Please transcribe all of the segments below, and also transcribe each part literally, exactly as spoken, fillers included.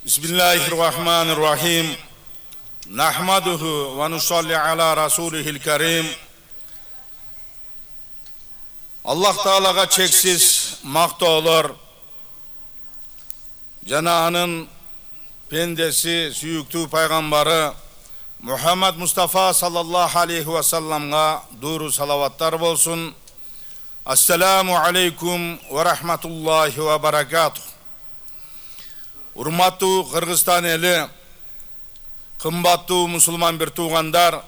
Bismillahirrahmanirrahim. Nahmaduhu ve nusalli ala rasulihil karim. Allah Teala'ga çeksiz maqtoolor. Jana anın pendesi, süyüktü paygambari Muhammed Mustafa sallallahu aleyhi ve sellem'ga duru salavatlar bolsun. Assalamu aleykum ve rahmetullahi ve barakatuh. Urmаттуу Kırgızstan eli, kымбаттуу musulman bir tuğandar,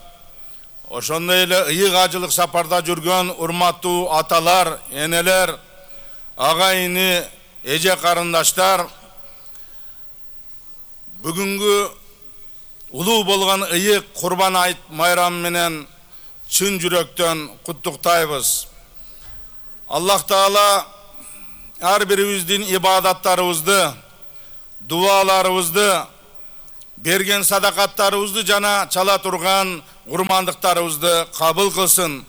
ошондой эле ыйык ажылык сапарда жүргөн урматтуу аталар, энелер, агайыны, эже карындаштар, бүгүнгү улуу болгон ыйык Курбан айт майрамы менен чын жүрөктөн куттуктайбыз. Аллах Таала ар бирибиздин ибадаттарыбызды, дуаларыбызды, берген садакаттарыбызды жана чала турган урмандыктарыбызды кабыл кылсын.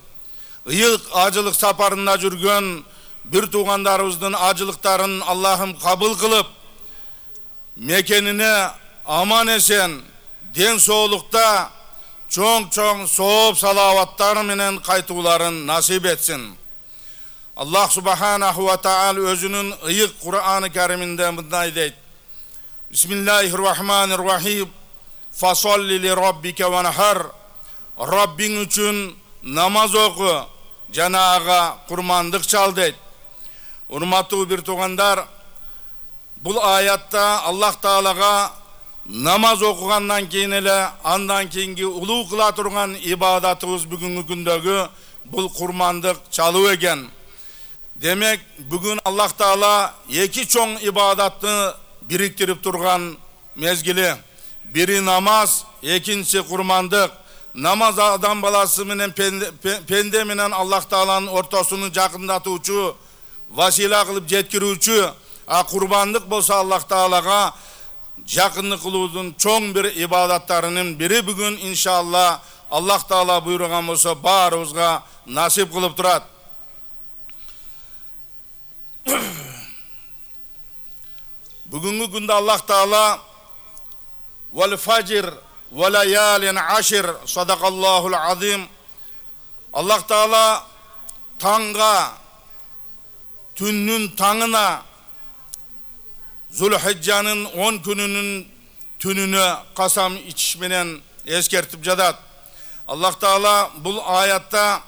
Ыйык ажылык сапарында жүргөн бир туугандарыбыздын ажылыктарын Аллахым кабыл кылып, мекенине аман эсен, ден соолукта чоң-чоң сооп салаваттар менен кайтууларын насип этсин. Аллах субханаху ва таала өзүнүн ыйык Кур'аны Кариминде мындай дейт: Bismillahirrahmanirrahim. Fasolli li rabbike ve nahar. Rabbin üçün namaz oku, jana kurmandık çal deyt. Urmаттуу bir tuğandar, bul ayatta Allah Teala'ga namaz okugandan keyin ele andan keyingi uluu kıla turgan ibadatыбыз бүгүnkү күндөгү bul kurmandık çalуу eken. Demek bugün Allah Teala iki çoң ibadatını biriktiriп турган мезгили. Бири намаз, экинчи курмандык. Намаз адам баласы менен пенде менен Аллах Тааланын ортосуну жакындатуучу, васила кылып жеткирүүчү, а курбандык болсо Аллах Таалага жакындык кылуудун чоң бир ибадаттарынын бири бүгүн иншалла Аллах Таала буйруган болсо баарыбызга насип кылып турат. Бүгүнгү күндө Аллах Таала вал фажр ва лаялин ашр садакаллахул азим. Аллах Таала таңга, түннүн таңына, Зулхижжанын он күнүнүн түнүнө касам ичиш менен эскертип жатат. Аллах Таала бул аятта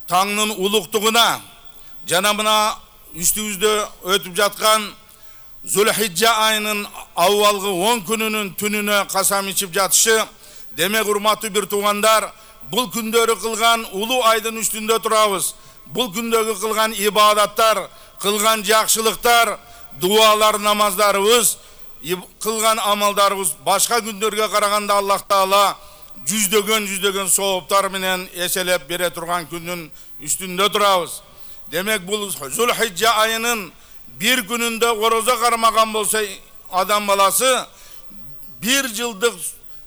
таңнын улуктугуна жана мына үстүбүздө өтүп жаткан Зулхижжа айынын аввалгы он күнүнүн түнүнө касам ичип жатышы, демек урматтуу бир туугандар, бул күндөрү кылган улуу айдын үстүндө турабыз. Бул күндөгү кылган ибадаттар, кылган жакшылыктар, дуалар, намаздарыбыз, кылган амалдарыбыз башка күндөргө караганда Аллах Таала жүздөгөн жүздөгөн сооптар менен эселеп бере турган күндүн үстүндө турабыз. Демек бул Зулхижжа айынын bir gününde oroza karmagan bolsa adam balası bir yıldık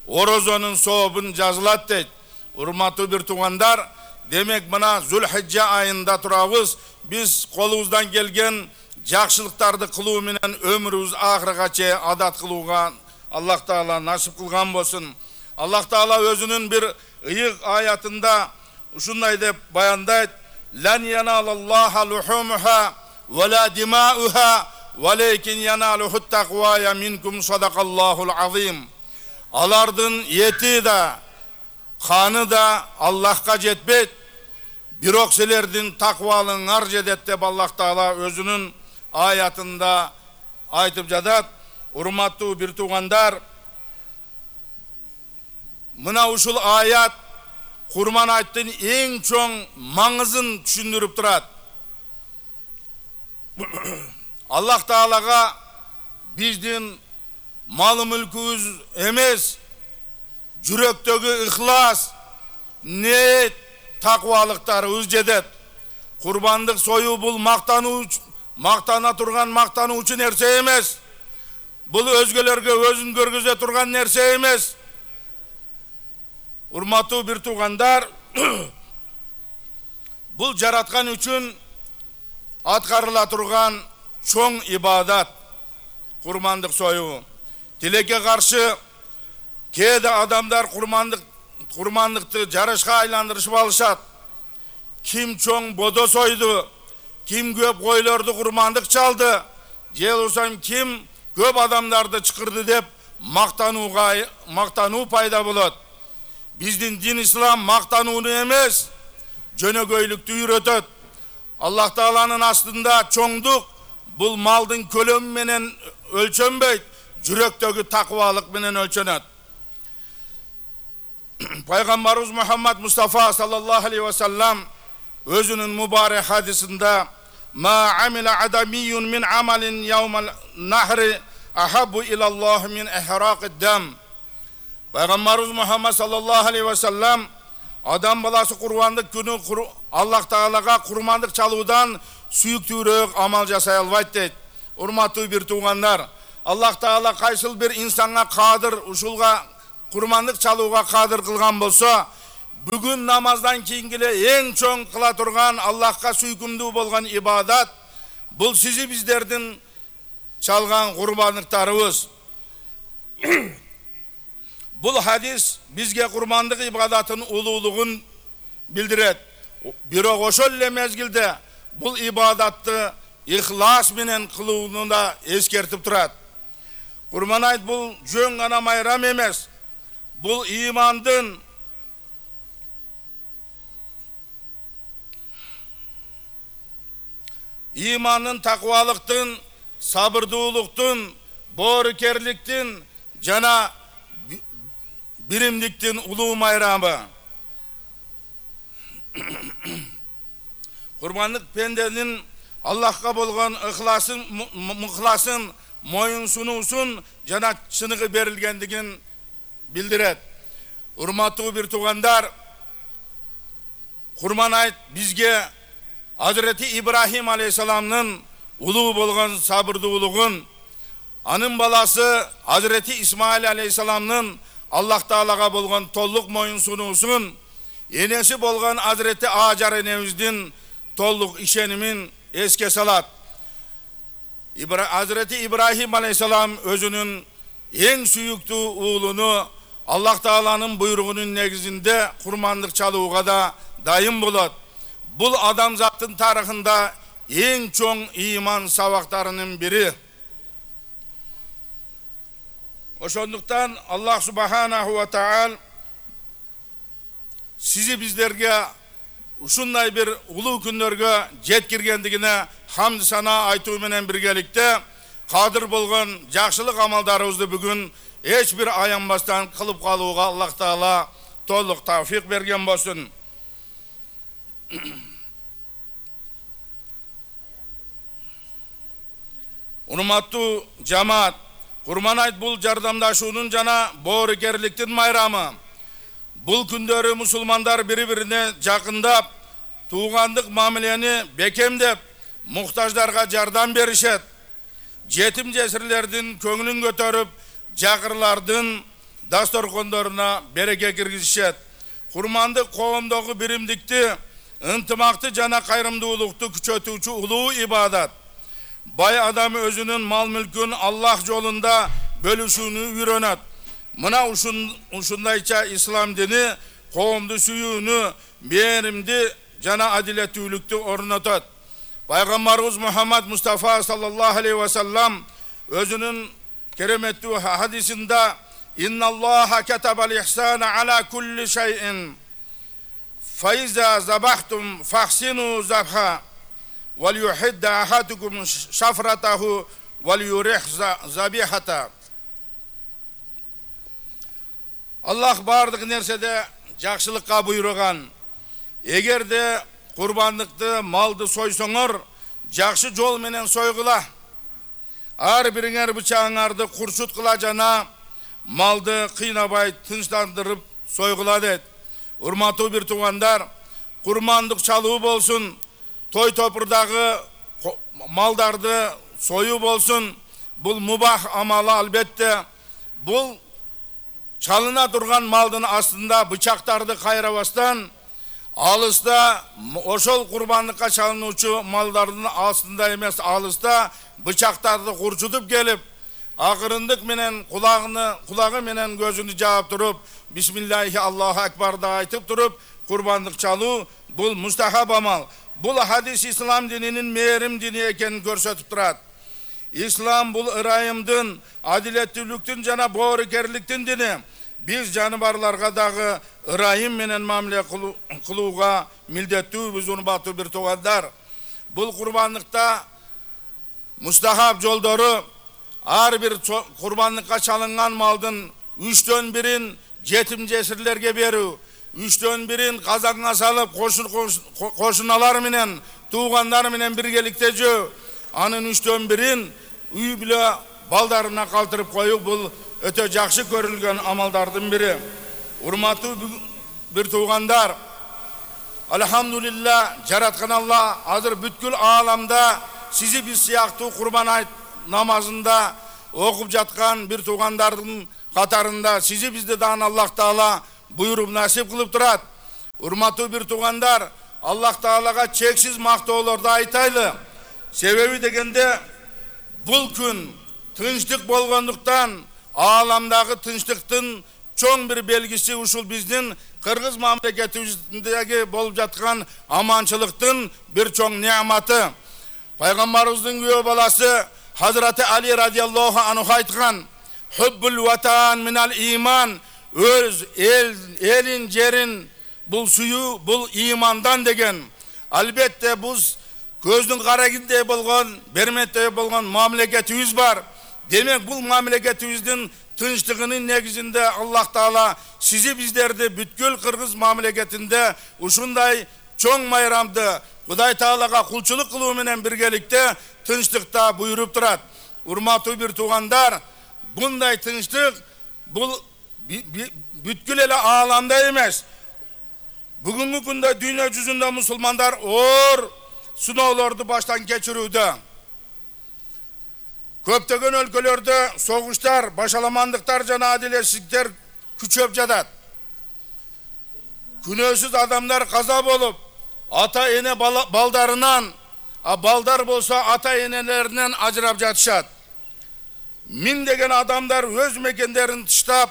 orozonun soğubun жазылат deyt. Urmattуу bir tuğandar, demek bana Zülhicce ayında turabız. Biz kolumuzdan gelgen jakşılıktardı kıluu menen ömrümüz ahırgaça adat kılууga Allah Taala nasip kılgan bolsun. Allah Taala özünün bir ıyık ayatında uşunday dep bayandayt: Lan yanalallaha luhumuha وَلَا دِمَاؤُهَا وَلَيْكِنْ يَنَالُهُ التَّقْوَايَ مِنْكُمْ صَدَقَ اللّٰهُ الْعَظِيمُ. Alardın yeti da, kanı da Allah'a jetbeyt. Birok silerdin takvalın arjedet dep Allah Taala özünün ayatında aytıp jadat. Urmattуу bir tuğandar, mına uşul ayat Kurban ayttın en çoң mаңызын түшүндүрүp turat. Allah Taalaga bizdin malı mülkümüz emez, жүрөктөгү ihlas, niyet, takvalıktarыбыз жетет. Kurbandık soyu bul maktanu, maktana turgan maktanu üçün nerse emez. Bul özgelerge özün görgüze turgan nerse emez. Urmattуу bir tuğandar, bul jaratkan üçün atkarıla turgan çoң ibadat, kurmandık soyu. тилекке каршы кээде адамдар курмандык курмандыкты жарышка айландырышып алышат. Ким чоң бодо сойду, ким көп койлорду курмандык чалды, же болбосо ким көп адамдарды чакырды деп мактанууга мактануу пайда болот. Биздин дин ислам мактанууну эмес, жөнөкөйлүктү үйрөтөт. Аллах Тааланын астында чоңдук бул малдын көлөмү менен өлчөнбөйт, жүрөктөгү такыбалык менен өлчөнөт. Пайгамбарыбыз Мухаммад Мустафа саллаллаху алейхи ва саллам өзүнүн мубарак хадисинде ма амила адамиюн мин амалин яумал нахри ахаббу илаллах мин ихрaqid дам. Пайгамбарыбыз Мухаммад саллаллаху алейхи ва саллам адам баласы курбандык күнү Аллах Таалага курмандык чалуудан сүйүктүүрөөк амал жасай албайт дейт. Урматтуу бир туугандар, Аллах Таала кайсыл бир инсанга кадыр ушулга курмандык чалууга кадыр кылган болсо, бүгүн намаздан кийин эле эң чоң кыла турган Аллахка сүйкүмдүү болгон ибадат бул сизи биздердин чалган курбандыктарыбыз. Бул хадис бизге курмандык ибадатын улуулугун билдирет. Бирок ошол эле мезгилде бул ибадатты ихлас менен кылууну да эскертип турат. Курман айт бул жөн гана майрам эмес. Бул имандын имандын такыбалыктын, сабырдуулуктун, боорукерликтин жана биримдиктин улуу майрамы. Курбандык пенденин Аллахка болгон ыхласын, мухласын, моюн сунуусун жана чыныгы берилгендигин билдирет. Урматтуу бир туугандар, Курман айт бизге Hazreti İbrahim Aleyhisselam'nın улуу болгон сабырдуулугун, анын баласы Hazreti İsmail Aleyhisselam'nın Allah Taalaga болгон толук моюн сунуусун, энеси болгон Hazreti Acar энебиздин толук ишенимин эске салат. Hazreti İbrahim Aleyhisselam özünün en sүйүктүү уулуну Allah Taala'nın buyruğunun negizinde kurmanlık çalууга da dayım bolot. Bul adamzattın tarihinde en çoğun iman sabaklarının biri. Oşonduktan Allah Subhanahu ve Taala sizi bizlerge ушундай bir улуу күндөргө жеткиргендигине хамд сана айтуу менен биргеликте кадыр болгон жакшылык амалдарыбызды бүгүн эч бир аянбастан кылып калууга Аллах Таала толук тавфик берген болсун. Урматтуу жамаат, Курман айт бул жардамдашуунун жана боорукерликтин майрамы. Бул күндөрү мусулмандар бири-бирине жакындап, туугандык мамилени бекемдеп, муктаждарга жардам беришет. Жетим жесирлердин көңүлүн көтөрүп, жакырлардын дасторкондоруна береке киргизишет. Курмандык коомдогу биримдикти, ынтымакты жана кайрымдуулукту күчөтүүчү улуу ибадат. Бай адам өзүнүн мал мүлкүн Аллах жолунда бөлүшүүнү үйрөнөт. Мына ушундайча ислам дини коомду сүйүүнү, мээримди жана адилеттүүлүктү орнотот. Пайгамбарыбыз Мухаммад Мустафа саллаллаху алейхи ва саллам өзүнүн кереметтүү хадисинде «Инналлаха катабал ихсана ала кулли шайин фаиза забахтум фахсину забха вал юхидда ахадукум шафратаху вал юрих забихата». Аллах бардык нерседе жакшылыкка буйруган. Эгерде курбандыкты, малды сойсоңор, жакшы жол менен сойгула. Ар бириңер бычагыңарды курчуткула жана малды кыйнабай тынчтандырып сойгула дейт. Урматтуу бир туугандар, курмандык чалуу болсун, той топурдагы малдарды союу болсун, бул мубах амалы албетте. Бул чалына турган малдын астында бычактарды кайрабастан, алыста ошол курбандыкка чалынуучу малдардын астында эмес, алыста бычактарды курчутуп келип, акырындык менен кулагыны кулагы менен көзүнү жаап туруп бисмиллахи Аллаху акбарды айтып туруп курбандык чалуу бул мустахаб амал. Бул хадис ислам дининин мээрим дини экенин көрсөтүп турат. Ислам бул ырайымдын, адилеттүүлүктүн жана боорукерликтин дини. Биз жаныбарларга дагы ырайым менен мамиле кылууга милдеттүүбүз, урматтуу бир туугандар. Бул курбандыкта мустахаб жолдору ар бир курбандыкка чалынган малдын үчтөн бирин жетим жесирлерге берүү, үчтөн бирин казанга салып кошуналар менен, туугандар менен биргеликте жөө, анын үчтөн бирин үй бүлө балдарына калтырып коюу бул өтө жакшы көрүлгөн амалдардын бири. Урматтуу бир туугандар, алхамдулилла, жараткан Алла азыр бүткүл ааламда сизи биз сыяктуу курбан айт намазында окуп жаткан бир туугандардын катарында сизи бизди дагы Аллах Таала буйруп насип кылып турат. Урматтуу бир туугандар, Аллах Таалага чексиз мактоолорду айтайлы. Себеби дегенде бул күн тынчтык болгондуктан ааламдагы тынчтыктын чоң бир белгиси ушул биздин кыргыз мамлекетибиздеги болуп жаткан аманчылыктын бир чоң неаматы. Пайгамбарыбыздын күбө баласы Hazreti Ali radıyallahu anhu aytkan hubbul vatan minal iman, öz el elin jerin bul suyu bul imandan degen. Albatta biz көздүн карагиндей болгон, берметтей болгон мамлекетибиз бар. Демек бул мамлекетибиздин тынчтыгынын негизинде Аллах Таала сизи биздерди бүткүл кыргыз мамлекетинде ушундай чоң майрамды Кудай Таалага кулчулук кылуу менен биргеликте тынчтыкта буйруп турат. Урматтуу бир туугандар, bunday тынчтык бул бүткүл эле ааламда эмес. Бүгүнкү күндө дүйнө жүзүндө мусулмандар оор сыноолорду баштан кечирүүдө. Көптөгөн өлкөлөрдө согуштар, башаламандыктар жана адилетсиздиктер күчөп жатат. Күнөөсүз адамдар каза болуп, ата эне балдарынан, а балдар болсо ата энелеринен ажырап жатышат. Миңдеген адамдар өз мекендерин тыштап,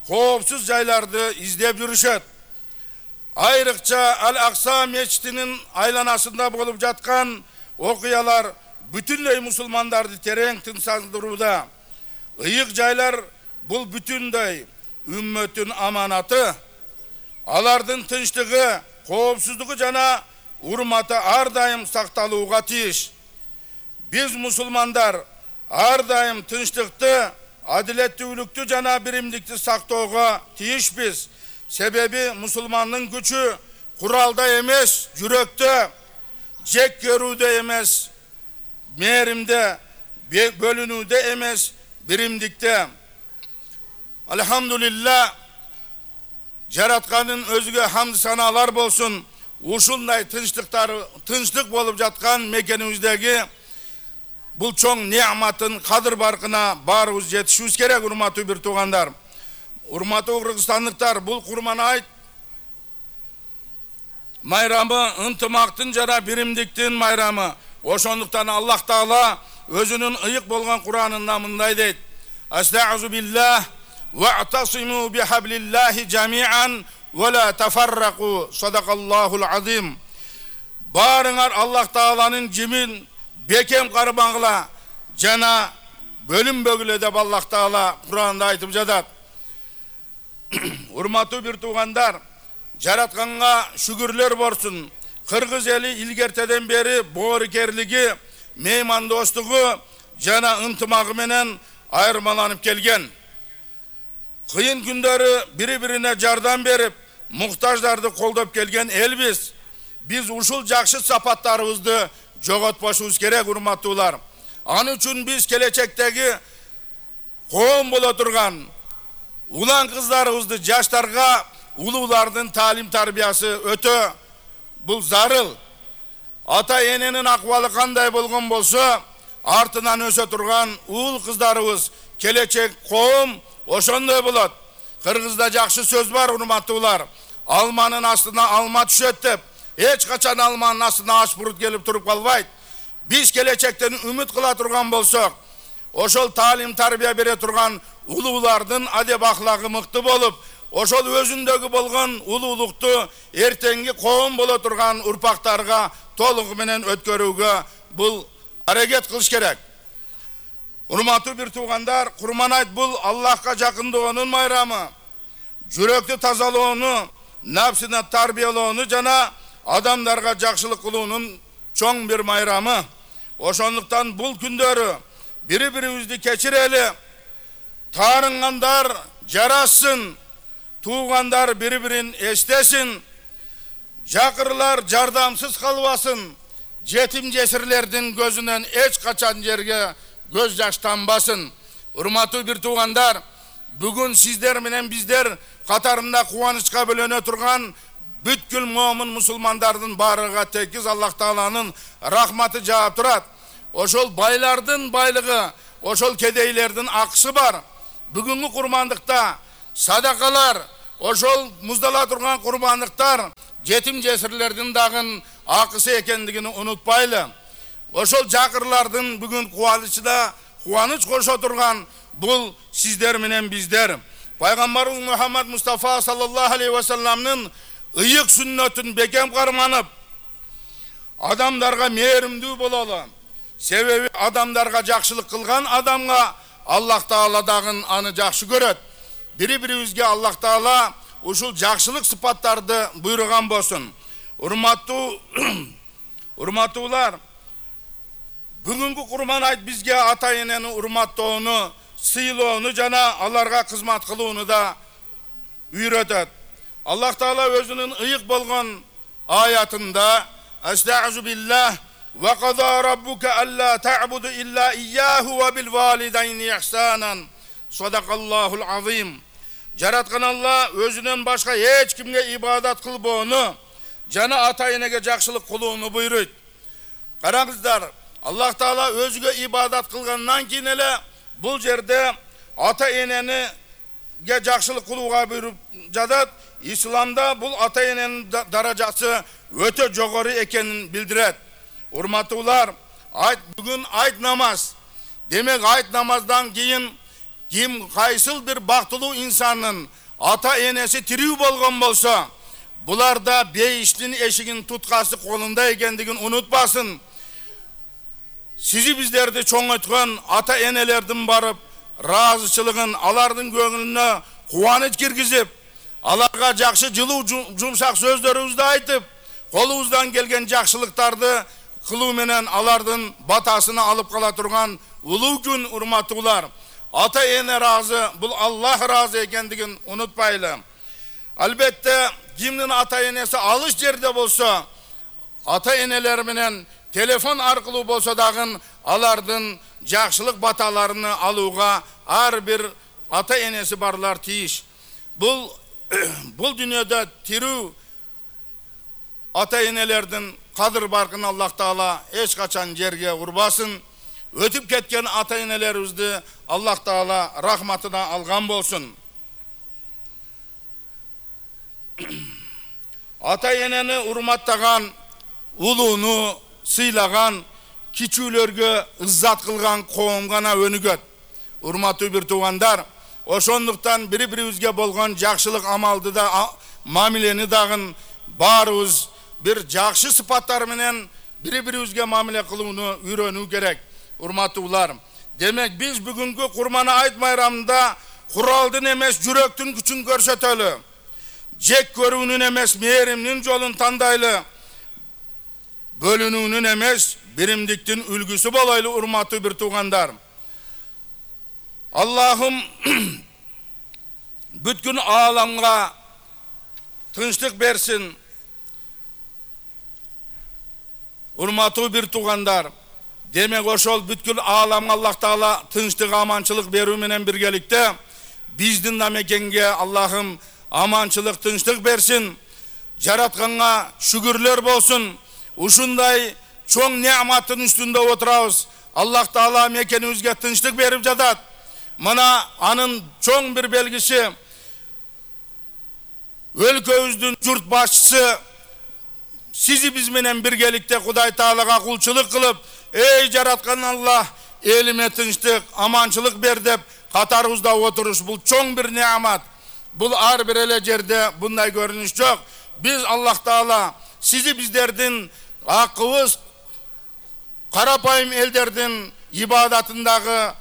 коопсуз жайларды издеп жүрүшөт. Айрыкча Ал-Акса мечитинин айланасында болуп жаткан окуялар бүтүндөй мусулмандарды терең тынчсыздырууда. Ыйык жайлар бул бүтүндөй үммөттүн аманаты. Алардын тынчтыгы, коопсуздугу жана урматы ар дайым сакталууга тийиш. Биз мусулмандар ар дайым тынчтыкты, адилеттүүлүктү жана биримдикти сактоого тийишпиз. Себеби мусулмандын күчү куралда эмес, жүрөктө, жек көрүүдө эмес, мээримде, бөлүнүүдө эмес, биримдикте. Алхамдулилла, жараткандын өзүгө хамд санаалар болсун. Ушундай тынчтыктар, тынчтык болуп жаткан мекенибиздеги бул чоң неаматын кадыр баркына баарыбыз жетишибиз керек, урматтуу бир туугандар. Урматтуу кыргызстандыктар, бул курман айт майрамы ынтымактын жана биримдиктин майрамы. Ошондуктан Аллах Таала өзүнүн ыйык болгон Куранында мындай дейт: Астагъузу биллах вa'тасиму бихаблиллахи жами'ан ва ла тафаррaqu. Садакаллахул азим. Барыңар Аллах Тааланын жимин бекем кармагыла жана бөлүнбөгүлө деп Аллах Таала Куранда айтып жатат. Урматтуу бир туугандар, жаратканга шүгүрлөр болсун. Кыргыз эли илгертеден бери боорукерлиги, меймандостугу жана ынтымагы менен айырмаланып келген. Кыйын күндөрү бири-бирине жардам берип, муктаждарды колдоп келген элбиз. Биз ушул жакшы сапаттарыбызды жоготпошубуз керек, урматтуулар. Аны үчүн биз келечектеги коом боло турган улан кыздарыбызды, жаштарга улуулардын таалим тарбиясы өтө бул зарыл. Ата эненин акыбалы кандай болгон болсо, артынан өсө турган уул кыздарыбыз, келечек коом ошондой болот. Кыргызда жакшы сөз бар, урматтуулар. Алманын астына алма түшөт деп, эч качан алманын астына аш бурут келип туруп калбайт. Биз келечектен үмүт кыла турган болсок, ошол таалим тарбия бере турган улуулардын адеп ахлагы мыкты болуп, ошол өзүндөгү болгон улуулукту эртеңки коом боло турган урпактарга толугу менен өткөрүүгө бул аракет кылыш керек. Урматтуу бир туугандар, Курман айт бул Аллахка жакындоонун майрамы, жүрөктү тазалоону, нафсини тарбиялоону жана адамдарга жакшылык кылуунун чоң бир майрамы. Ошондуктан бул күндөрү бири-бирибизди кечирели, таарынгандар жарашсын, туугандар бири-бирин эстесин, жакырлар жардамсыз калбасын, жетим жесирлердин көзүнөн эч качан жерге көз жаш тамбасын. Урматтуу бир туугандар, бүгүн сиздер менен биздер катарында кубанычка бөлөнө турган бүткүл момун мусулмандардын баарыга текиз Аллах Тааланын рахматы жаап турат. Ошол байлардын байлыгы, ошол кедейлердин акысы бар. Бүгүнкү курмандыкта садакалар, ошол муздала турган курмандыктар жетим жесирлердин дагы акысы экендигин унутпайлы. Ошол жакырлардын бүгүн кубанычына кубаныч кошо турган бул сиздер менен биздер. Пайгамбарыбыз Мухаммад Мустафа саллаллаху алейхи ва салламдын ыйык сүннөтүн бекем карманып, адамдарга мээримдүү бололу. Себеби адамдарга жакшылык кылган адамга Аллах Таала дагы аны жакшы көрөт. Бири-бирибизге Аллах Таала ушул жакшылык сыпаттарды буйруган болсун. Урматтуу урматтуулар, бүгүнкү Курман айт бизге ата-энени урматтоону, сыйлоону жана аларга кызмат кылууну да үйрөтөт. Аллах Таала өзүнүн ыйык болгон аятында Астагфиру биллах ва када раббука алла та'буду илля ияху ва бил валидайни ихсанан. Садакаллахул азим. Жараткан Алла өзүнөн башка эч кимге ибадат кылбоону жана ата-энеге жакшылык кылууну буйруйт. Караңыздар, Аллах Таала өзүгө ибадат кылгандан кийин эле бул жерде ата-энеге жакшылык кылууга буйруп жатат. Исламда бул ата-эненин даражасы өтө жогору экенин билдирет. Урматтуулар, айт бүгүн айт намаз. Демек айт намаздан кийин ким кайсыл бир бактылуу инсандын ата-энеси тирүү болгон болсо, буларда бейиштин эшигин туткасы колунда экендигин унутпасын. Сизи биздерди чоңойткон ата-энелердин барып ыраазычылыгын, алардын көңүлүнө кубаныч киргизип, аларга жакшы жылуу жумшак сөздөрүбүздү айтып, колубуздан келген жакшылыктарды кылуу менен алардын батасына алып кала турган улуу күн. Урматтуулар, ата-эне разы, бул Аллах разы экендигин унутпайлы. Албетте, кимдин ата-энеси алыс жерде болсо, ата-энелер менен телефон аркылуу болсо дагы алардын жакшылык баталарыны алууга ар бир ата-энеси барлар тийиш. Бул бул дүйнөдө тирүү ата-энелердин кадыр баркын Аллах Таала эч качан жерге урбасын. Өтүп кеткен ата-энелерибизди Аллах Таала рахматына алган болсун. Ата-энени урматтаган, улууну сыйлаган, кичүүлөргө ыззат кылган коом гана өнүгөт. Урматтуу бир туугандар, ошондуктан бири-бирибизге болгон жакшылык амалды да, мамилени дагы баарыбыз бир жакшы сыпаттар менен бири-бирибизге мамиле кылууну үйрөнүү керек. Урматтуулар, демек биз бүгүнкү Курман айт майрамында куралдын эмес жүрөктүн күчүн көрсөтөлү, жек көрүүнүн эмес мээримдин жолун тандайлы, бөлүнүүнүн эмес биримдиктин үлгүсү болойлу. Урматтуу бир туугандар, Аллахым бүткүл ааламга тынчтык берсин. Урматтуу бир туугандар, демек ошол бүткүл ааламга Аллах Таала тынчтык, аманчылык берүү менен биргеликте биздин да мекенге Аллахым аманчылык, тынчтык берсин. Жаратканга шүгүрлөр болсун. Ушундай чоң неаматтын үстүндө отурабыз. Аллах Таала мекенибизге тынчтык берип жатат. Мына анын чоң бир белгиси, өлкөбүздүн журт башчысы сизи биз менен биргеликте Кудай Таалага кулчулук кылып, эй жараткан Аллах, элиме тынчтык, аманчылык бер деп катарыбызда отуруш бул чоң бир неамат. Бул ар бир эле жерде bunday көрүнүш жок. Биз Аллах Таала сизи биздердин акыбыз карапайым элдердин ибадатындагы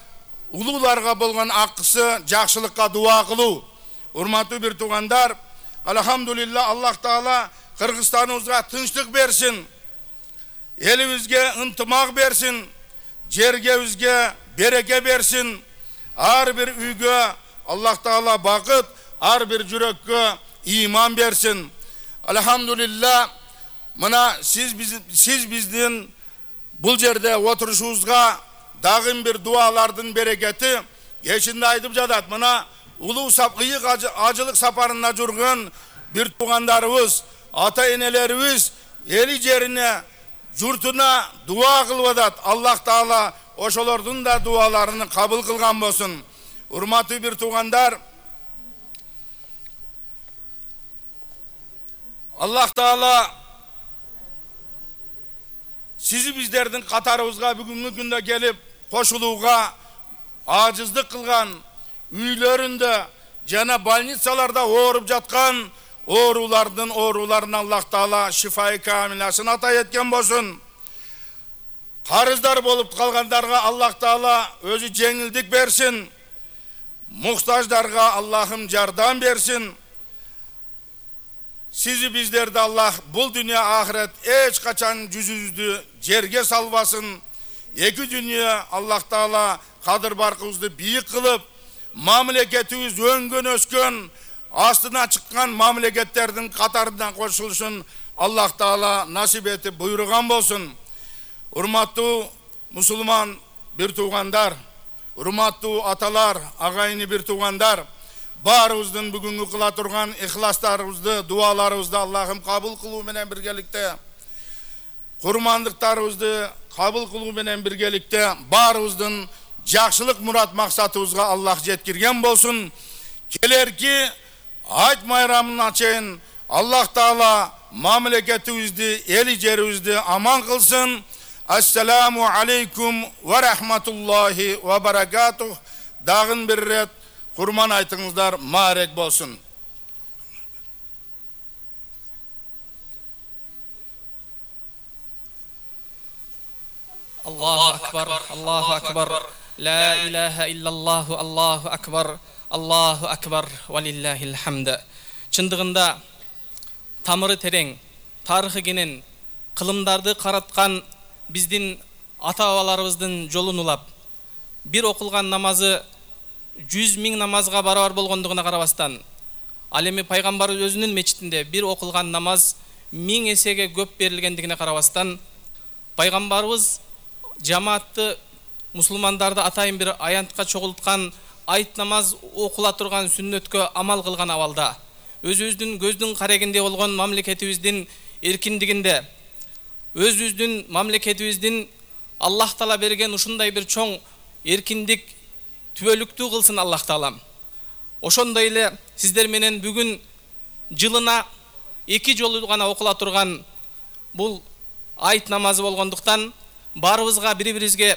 улууларга болгон акысы жакшылыкка дуа кылуу. Урматтуу бир туугандар, алхамдулилла Аллах Таала Кыргызстаныбызга тынчтык берсин. Элибизге ынтымак берсин. Жергебизге береке берсин. Ар бир үйгө Аллах Таала бакыт, ар бир жүрөккө иман берсин. Алхамдулилла, мына сиз биз сиз биздин бул жерде отурушубузга дагы бир дуалардын берекети кечинде айтып жатат. Мына улуу сапкыйык ажылык сапарында жүргөн бир туугандарыбыз, ата энелерибиз эли жерине, журтуна дуа кылып атат. Аллах Таала ошолордун да дуаларын кабыл кылган болсун. Урматтуу бир туугандар, Аллах Таала сизи биздердин катарыбызга бүгүнкү күндө келип кошулууга ажыздык кылган, үйлөрүндө жана больницаларда ооруп жаткан оорулардын ооруларына Аллах Таала шифай камиласын ата эткен болсун. Карыздар болуп калгандарга Аллах Таала өзү жеңилдик берсин. Муктаждарга Аллахым жардам берсин. Сизи биздерди Аллах бул дүйнө ахирет эч качан жүзүбүздү жерге салбасын. Эки дүйнө Аллах Таала кадыр баркыбызды бийик кылып, мамлекетибиз өнгөн өскөн, астына чыккан мамлекеттердин катарына кошулушун Аллах Таала насип этип буйруган болсун. Урматтуу мусулман бир туугандар, урматтуу аталар, агайыны бир туугандар, баарыбыздын бүгүнкү кыла турган ихластарыбызды, дуаларыбызды Аллахым кабыл кылуу менен биргеликте, курмандыктарыбызды кабыл кылуу менен биргеликте баарыбыздын жакшылык мурат максатыбызга Аллах жеткирген болсун. Келерки айт майрамына чейин Аллах Таала мамлекетибизди, эли жерибизди аман кылсын. Ассаламу алейкум ва рахматуллахи ва баракатух. Дагын бир рет курман айтыңыздар, маарек болсун. Аллаху акбар, Аллаху акбар, ла илаха иллаллаху, Аллаху акбар, Аллаху акбар, валиллахил хамд. Чындыгында тамыры терең, тарыхы кенен, кылымдарды караткан биздин ата-бабаларыбыздын жолун улап, бир окулган намазы жүз миң намазга барабар болгондугуна карабастан, ал эми пайгамбар өзүнүн мечитинде бир окулган намаз миң эсеге көп берилгендигине карабастан, пайгамбарыбыз жамаатты, мусулмандарды атайын бир аянтка чогулткан айт намаз окула турган сүннөткө амал кылган абалда, өзүбүздүн көздүн карегинде болгон мамлекетибиздин эркиндигинде, өзүбүздүн мамлекетибиздин Аллах Таала берген ушундай бир чоң эркиндик түбөлүктүү кылсын Аллах Таалам. Ошондой эле сиздер менен бүгүн жылына эки жолу гана окула турган бул айт намазы болгондуктан баарыбызга бири-бирибизге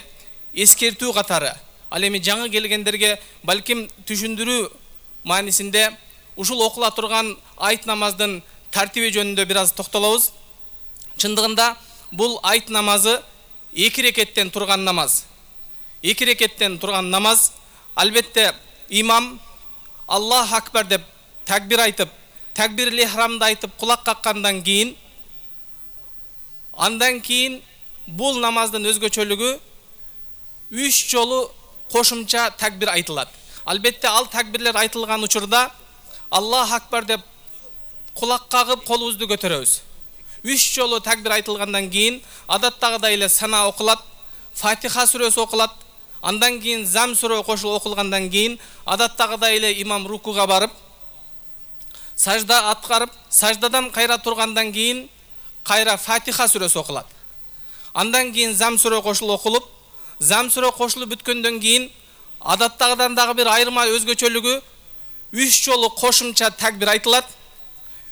эскертүү катары, ал эми жаңы келгендерге балким түшүндүрүү маанисинде ушул окула турган айт намаздын тартиби жөнүндө бир аз токтолобуз. Чындыгында бул айт намазы эки рекеттен турган намаз. Эки рекеттен турган намаз. Албетте имам Аллах акбар деп такбир айтып, такбирли ихрамды айтып кулак каккандан кийин, андан кийин бул намаздын өзгөчөлүгү үч жолу кошумча такбир айтылат. Албетте ал такбирлер айтылган учурда Аллах акбар деп кулак кагып колубузду көтөрөбүз. Үч жолу такбир айтылгандан кийин адаттагыдай эле сана окулат, Фатиха сүрөсү окулат, андан кийин зам сүрө кошулуп окулгандан кийин адаттагыдай эле имам рукуга барып, сажда аткарып, саждадан кайра тургандан кийин кайра Фатиха сүрөсү окулат. Андан кийин зам сүрө кошулуп окулуп, зам сүрө кошулуп бүткөндөн кийин адаттагыдан дагы бир айырма өзгөчөлүгү үч жолу кошумча такбир айтылат.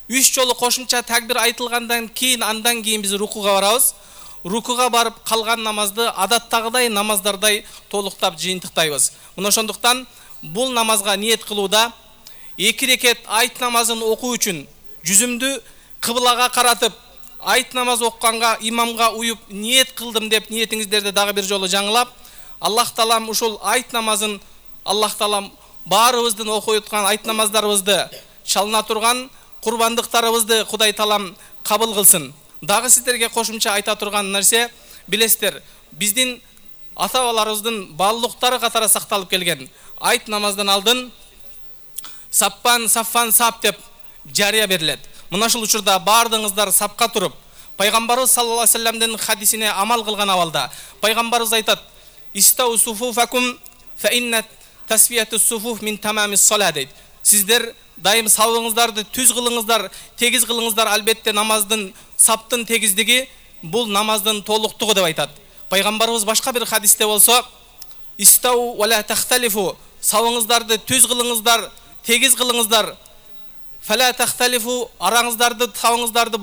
Үч жолу кошумча такбир айтылгандан кийин андан кийин биз рукуга барабыз. рукуга барып калган намазды адаттагыдай намаздардай толуктап жыйынтыктайбыз. Мына ошондуктан бул намазга ниет кылууда эки рекет айт намазын окуу үчүн жүзүмдү кыблага каратып айт намаз окканга имамга уюп ниет кылдым деп ниетиңиздерди дагы бир жолу жаңылап, Аллах таалам ушул айт намазын Аллах таалам баарыбыздын окуй аткан айт намаздарыбызды чалына турган курбандыктарыбызды Кудай таалам кабыл кылсын. Дагы сиздерге кошумча айта турган нерсе, билесиздер, биздин ата-бабаларыбыздын баалуулуктары катары сакталып келген. Айт намаздан алдын саппан саффан сап деп жарыя берилет. Мына ушул учурда баардыгыңыздар сапка туруп, пайгамбарыбыз саллаллаху алейхи вассаламдын хадисине амал кылган абалда пайгамбарыбыз айтат: "Истау суфуфакум фа инна тасфиятус суфуф мин тамамис салат" дейт. Сиздер дайым сабыңыздарды түз кылыңыздар, тегиз кылыңыздар, албетте намаздын саптын тегиздиги бул намаздын толуктугу деп айтат. Пайгамбарыбыз башка бир хадисте болсо: "Истау ва ла тахталифу", сабыңыздарды түз кылыңыздар, тегиз кылыңыздар. "Фала тахталифу", араңыздарды, сабыңыздарды